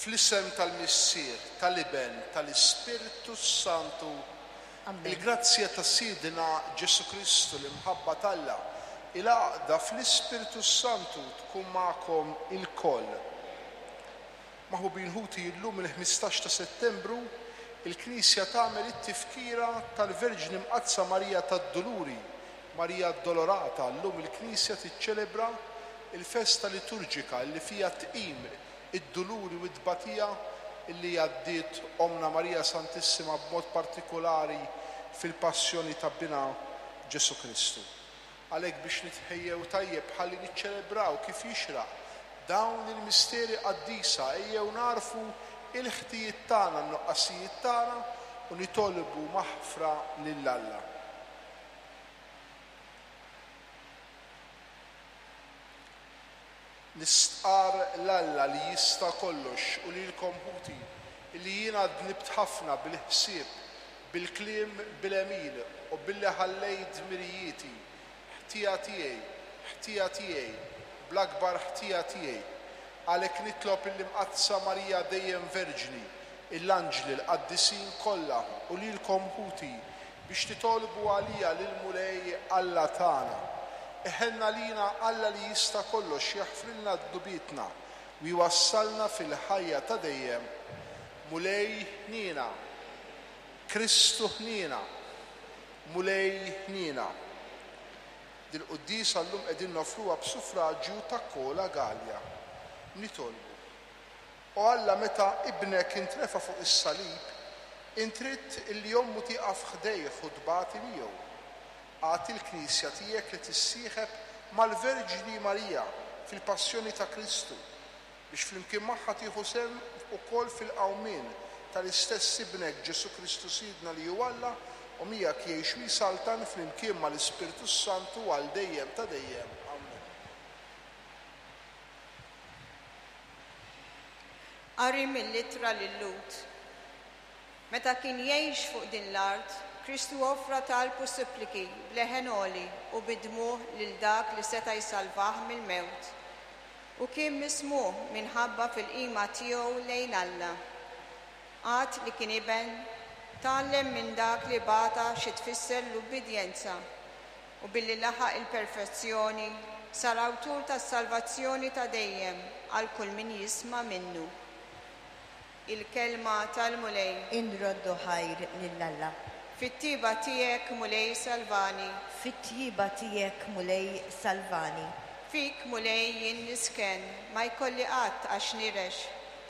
Fl-isem tal-Missier, tal-Iben, tal-Ispirtu s-Santu, Amen. il-grazzja ta' Sidna Ġesù Kristu, l-imħabba t'Alla, il-għaqda fl-Ispirtu s-Santu tkun magħkom ilkoll. Maħbubin ħuti, illum il-15 ta' Settembru, il-Knisja tagħmel it-tifkira tal-Verġni Mqaddsa Marija tad-Duluri, Marija Addolorata. Llum il-Knisja tiċċelebra l-festa liturġika li fiha tqim id-duluri u t-tbatija li għaddiet Ommna Marija Santissima b'mod partikulari fil-passjoni ta' Binha Ġesù Kristu. Għalhekk biex nitħejjew tajjeb ħalli niċċelebraw kif jixraq dawn il-misteri qaddisa ejjew nagħrfu l-ħtijiet tagħna, n-nuqqasijiet tagħna u nitolbu maħfra lil Alla. Nistqarr 'l Alla li jista' kollox u lilkom ħuti, illi jiena dnibt ħafna bil-ħsieb, bil-kliem, bil-għemil u billi ħallejt dmirijieti, ħtija tiegħi, ħtija tiegħi, bl-akbar ħtija tiegħi. Għalhekk nitlob lill-Imqaddsa Marija dejjem Verġni, l-anġli, l-qaddisin kollha u lilkom ħuti, biex titolbu għalija lill-Mulej Alla tagħna. Iħenn għalina Alla li jista' kollox jaħfrilna dnubietna u jwassalna fil-ħajja ta' dejjem. Mulej ħniena. Kristu ħniena. Mulej ħniena. Dil-quddiesa llum qegħdin noffruha b'suffraġju ta' Kola Galea. Nitolbu. O Alla, meta Ibnek intrefa' fuq is-salib, int ridt illi ommu tieqaf ħdejh u tbati miegħu. Agħti l-Knisja tiegħek li tissieħeb mal-Verġni Marija fil-passjoni ta' Kristu, biex flimkien magħha tieħu sehem ukoll fil-qawmien tal-istess Ibnek Ġesù Kristu Sidna li hu Alla u miegħek jgħix u jsaltan flimkien mal-Ispirtu s-Santu għal dejjem ta' dejjem. Ammen. Qari mill-Ittra lil-Lhud. Meta kien jgħix fuq din l-art, Kristu offra talb u suppliki b'leħen għoli u bid-dmugħ lil dak li seta' jsalvah mill-mewt. U kien mismugħ minħabba fil-qima tiegħu lejn Alla. Għad li kien iben, tgħallem minn dak li bata xi tfisser l-ubbidjenza, u billi laħaq il-perfezzjoni, sar awtur tas-salvazzjoni ta' dejjem għal kull min jisma' minnu. Il-Kelma tal-Mulej. Inroddu ħajr lil Alla. Fit-tjieba tiegħek, Mulej, salvani. Fit-tjieba tiegħek, Mulej, salvani. Fik, Mulej, jien nisken, ma jkolli qatt għax nirex.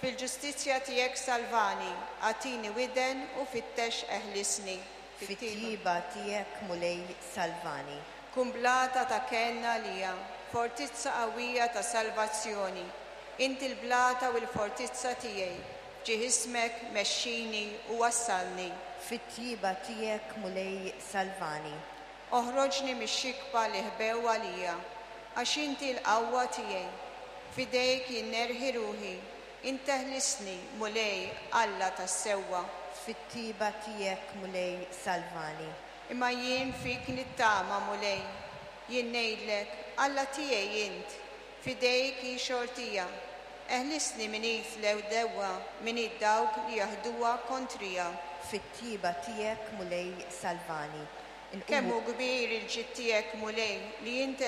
Fil-ġustizzja tiegħek salvani, agħtini widen u fittex eħlisni. Fit-tjieba tiegħek, Mulej, salvani. Kun blata ta' kenn għalija, fortizza qawwija ta' salvazzjoni. Inti l-blata u l-fortizza tiegħi, f'ġieħ ismek mexxini u wassalni. Fit-tjieba tiegħek, Mulej, salvani. Oħroġni mix-xikba li ħbew għalija, għax inti l-qawwa tiegħi. F'idejk jien nerħi ruħi, Int eħlisni, Mulej, Alla tas-sewwa. Fit-tjieba tiegħek, Mulej, salvani. Imma jien fik nittama, Mulej. Jien ngħidlek, Alla tiegħi int, f'idejk hi xortija. Eħlisni minn id l-għedewwa, minn id dawk li jaħduha kontrija. Fit-tjieba tiegħek, Mulej, salvani. Kemm Inqumu. hu kbir il-ġid tiegħek, Mulej, li int.